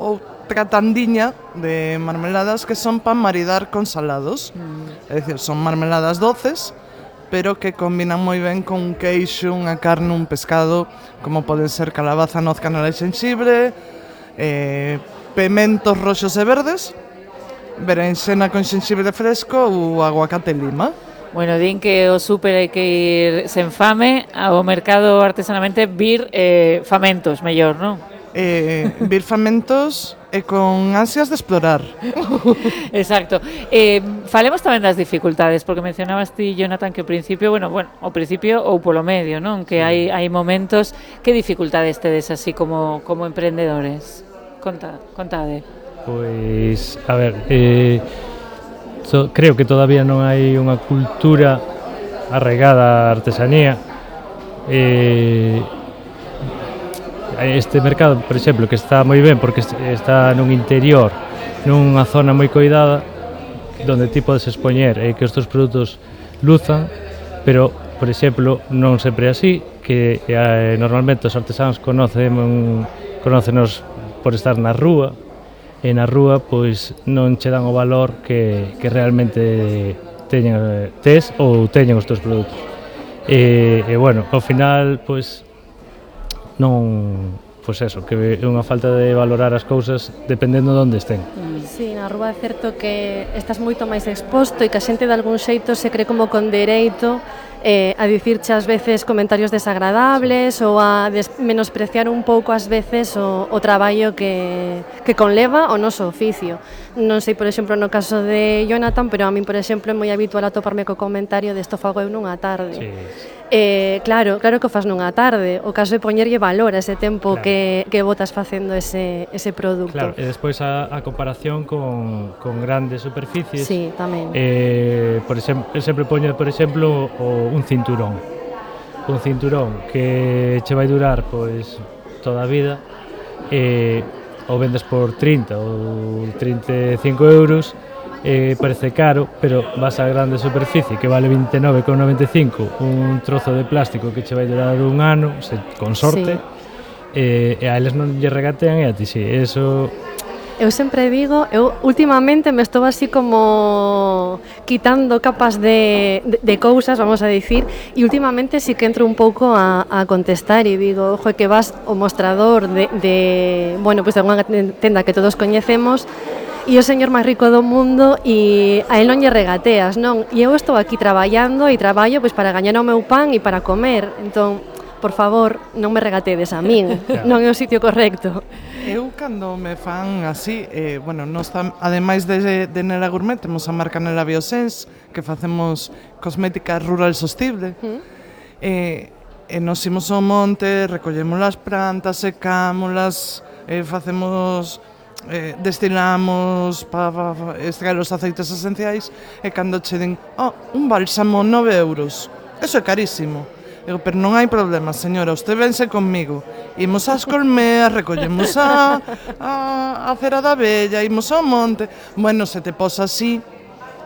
outra tandiña de marmeladas que son para maridar con salados. É dicir, son marmeladas doces, pero que combinan moi ben con un queixo, unha carne, un pescado, como poden ser calabaza, noz, canela e xenxibre, pementos roxos e verdes, berenxena con xenxibre fresco ou aguacate e lima. Bueno, din que o súper hai que ir sen fame, ao mercado artesanamente vir famentos, mellor, non? Vir famentos e con ansias de explorar. Exacto. Falemos tamén das dificultades, porque mencionabas ti, Jonathan, que ao principio, bueno, ao principio ou polo medio, non? Que hai momentos, que dificultades tedes así como emprendedores? Contade. Pois, a ver, creo que todavía non hai unha cultura arraigada á artesanía. Este mercado, por exemplo, que está moi ben porque está nun interior, nunha zona moi coidada, donde ti podes expoñer que os teus produtos luzan, pero, por exemplo, non sempre é así, que normalmente os artesanos conócenos por estar na rúa, e na rúa pois non che dan o valor que realmente tes ou teñen os teus produtos. E bueno, ao final pois non, pois eso, que é unha falta de valorar as cousas dependendo de onde estén. Sí, na rúa é certo que estás moito máis exposto e que a xente de algún xeito se cree como con dereito a dicirche ás veces comentarios desagradables ou a menospreciar un pouco ás veces o traballo que conleva o noso oficio. Non sei, por exemplo, no caso de Jonathan, pero a min, por exemplo, é moi habitual atoparme co comentario de isto fago eu nunha tarde. Sí. Claro que o fas nunha tarde. O caso é poñerlle valor a ese tempo que botas facendo ese produto. Claro, e despois a comparación con grandes superficies. Sí, tamén. Por exemplo, sempre poño, por exemplo, un cinturón. Un cinturón que che vai durar pois toda a vida, o vendes por 30 ou 35 euros, parece caro, pero vas á grande superficie que vale 29,95, un trozo de plástico que che vai durar un ano, con sorte, e a eles non lle regatean e a ti si, eso... Eu sempre digo, eu últimamente me estou así como quitando capas de cousas, vamos a dicir, e últimamente sí que entro un pouco a contestar e digo, ojo, que vas ao mostrador bueno, pues de unha tenda que todos coñecemos e o señor máis rico do mundo e a él non lle regateas, non? E eu estou aquí traballando e traballo pues, para gañar o meu pan e para comer, entón, por favor, non me regatedes a min, non é o sitio correcto. Eu, cando me fan así, bueno, ademais de Nela Gourmet, temos a marca Nela Biosense, que facemos cosmética rural sostible, e nos imos ao monte, recollemos as plantas, secámolas, facemos... destilamos para extraer os aceites esenciais e cando che din un bálsamo 9 euros, eso é carísimo. Digo, pero non hai problema, señora, usted vense conmigo, imos ás colmeas, recollemos a cera da abella, imos ao monte. Bueno, se te posa así,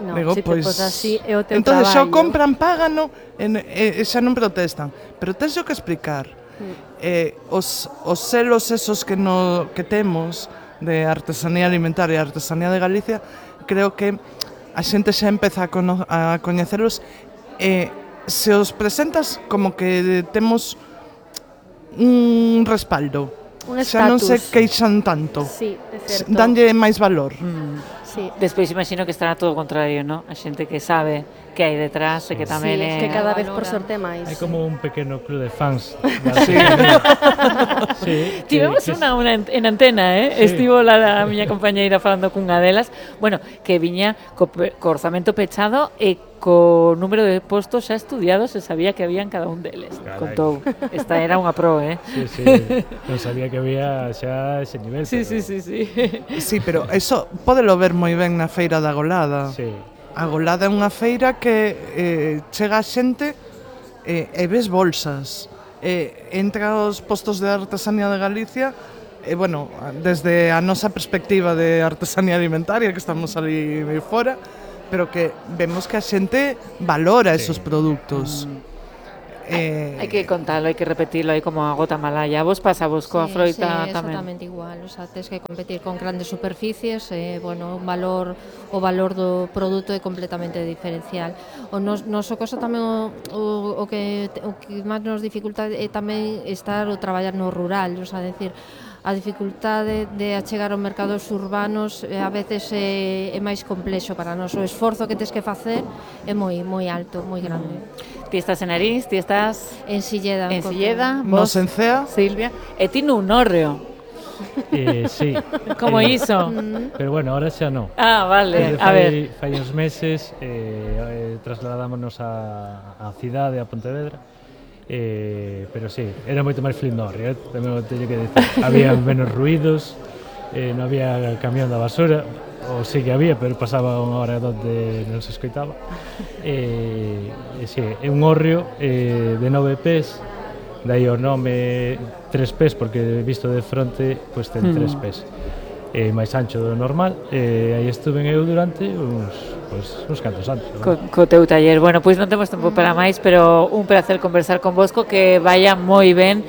no, digo, se te posa así é o teu entón, traballo. Xa compran, págano e xa non protestan, pero tens que explicar os selos esos que temos de artesanía alimentaria e artesanía de Galicia, creo que a xente xa empeza a coñecelos e se os presentas como que temos un respaldo, xa non se queixan tanto, danlle máis valor. Sí. Despois imagino que estará todo o contrario, ¿no? A xente que sabe que hai detrás e que tamén é... que cada vez por sorte máis. Hai como un pequeno club de fans. Tivemos unha en antena, estivo a miña compañeira falando cunha delas, bueno, que viña co orzamento pechado e co número de postos xa estudiados se sabía que había en cada un deles. Contou, esta era unha pro, Sí, non sabía que había xa ese nivel. Sí. Sí, pero eso pódelo ver moi ben na feira da Golada. Sí. A Golada é unha feira que chega a xente e ves bolsas, entra aos postos de artesanía de Galicia, bueno, desde a nosa perspectiva de artesanía alimentaria, que estamos ali fora, pero que vemos que a xente valora esos produtos. Hai que contalo, hai que repetirlo aí como a gota malaya. Vos pasavos coa froita tamén? Exactamente igual, o sea, tens que competir con grandes superficies, bueno, o valor do produto é completamente diferencial. O noso caso tamén o que máis nos dificulta é tamén estar ou traballar no rural, o sea, decir, a dificultade de achegar aos mercados urbanos a veces é máis complexo para nós. O esforzo que tes que facer é moi alto, moi grande. Ti estás en Arís, ti estás en Silleda. En Silleda, vos en Cea, Silvia, e ti nun hórreo. Sí. Como iso? Pero bueno, ahora xa non. Ah, vale, a ver. Fai uns meses trasladámonos a cidade, a Pontevedra. Pero sí, era moito máis flindorrio, tamén o teño que dicir. Había menos ruidos, non había camión da basura, ou sí que había, pero pasaba unha hora onde non se escoitaba. Sí, é un hórreo de 9 pés, dai o nome 3 pés, porque visto de fronte, pois ten 3 pés. Máis ancho do normal, aí estuve eu durante uns cantos anos. Co teu taller. Bueno, pois non temos tempo para máis, pero un placer conversar con vosco, que vaya moi ben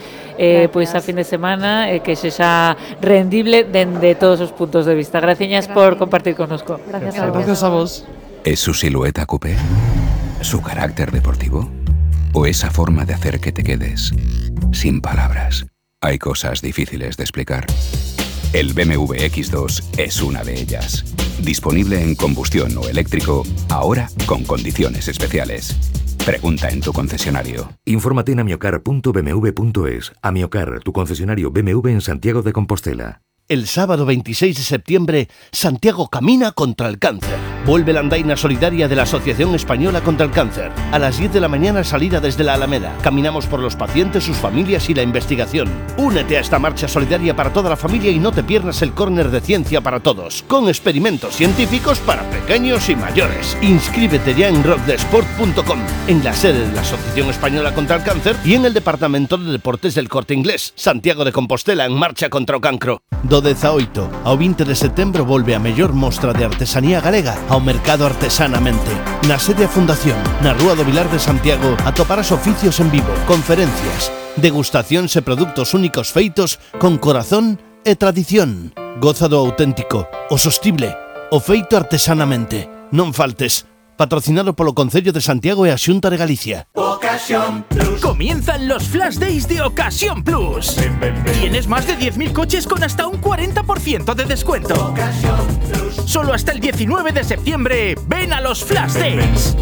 pois a fin de semana, que sexa rendible dende todos os puntos de vista. Graciñas por compartir connosco. Gracias a vos. ¿Es su silueta coupé? ¿Su carácter deportivo? ¿O esa forma de hacer que te quedes sin palabras? Hay cosas difíciles de explicar. El BMW X2 es una de ellas. Disponible en combustión o eléctrico, ahora con condiciones especiales. Pregunta en tu concesionario. Infórmate en amiocar.bmw.es. Amiocar, tu concesionario BMW en Santiago de Compostela. El sábado 26 de septiembre, Santiago camina contra el cáncer. Vuelve la andaina solidaria de la Asociación Española contra el Cáncer. A las 10 de la mañana, salida desde la Alameda. Caminamos por los pacientes, sus familias y la investigación. Únete a esta marcha solidaria para toda la familia y no te pierdas el córner de ciencia para todos, con experimentos científicos para pequeños y mayores. Inscríbete ya en rockdesport.com, en la sede de la Asociación Española contra el Cáncer y en el Departamento de Deportes del Corte Inglés. Santiago de Compostela en marcha contra o cancro. Do 18 ao 20 de setembro volve a mellor mostra de artesanía galega ao mercado Artesanamente. Na sede a Fundación, na Rúa do Vilar de Santiago, atoparás oficios en vivo, conferencias, degustacións e produtos únicos feitos con corazón e tradición. Goza do auténtico, o sostible, o feito artesanamente. Non faltes. Patrocinado polo Concello de Santiago e a Xunta de Galicia. Ocasión Plus. Comienzan los Flash Days de Ocasión Plus. Tienes más de 10.000 coches con hasta un 40% de descuento. Ocasión Plus. Solo hasta el 19 de septiembre, ven a los Flash Days.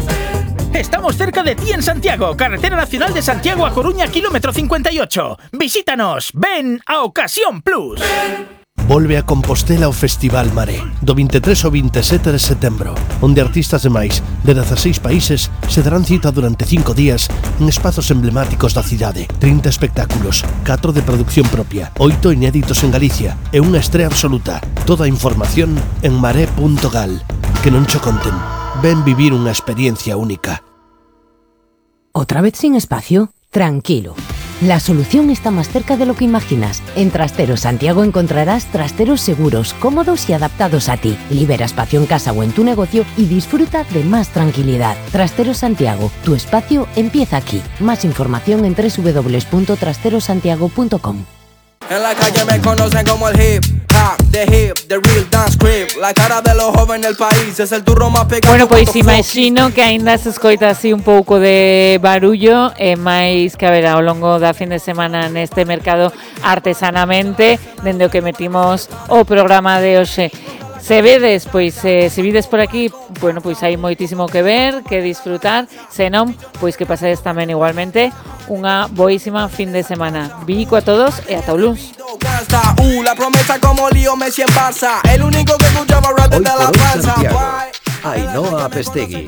Estamos cerca de ti en Santiago, Carretera Nacional de Santiago a Coruña, kilómetro 58. Visítanos, ven a Ocasión Plus. Volve a Compostela o Festival Maré, do 23 ao 27 de setembro, onde artistas de máis de 16 países se darán cita durante 5 días en espazos emblemáticos da cidade. 30 espectáculos, 4 de producción propia, 8 inéditos en Galicia e unha estrea absoluta. Toda a información en maré.gal. Que non cho conten. Ven vivir unha experiencia única. ¿Otra vez sin espacio? Tranquilo. La solución está más cerca de lo que imaginas. En Trasteros Santiago encontrarás trasteros seguros, cómodos y adaptados a ti. Libera espacio en casa o en tu negocio y disfruta de más tranquilidad. Trasteros Santiago, tu espacio empieza aquí. Más información en www.trasterosantiago.com. En la calle me conocen como el hip hop, the real dance creep. La cara de los jóvenes del país es el turro más pequeño. Bueno, pois imagino que aínda se escoita así un pouco de barullo, máis que a ver ao longo da fin de semana neste mercado Artesanamente, dende o que metimos o programa de hoxe. Se vedes, pois, se vides por aquí, bueno, pois hai moitísimo que ver, que disfrutar, senón, pois que pasades tamén igualmente unha boísima fin de semana. Bico a todos e ata o luns. La promesa como Lío Messi en Barça, el único que escuchaba rap desde la panza. Ainhoa Apestegui.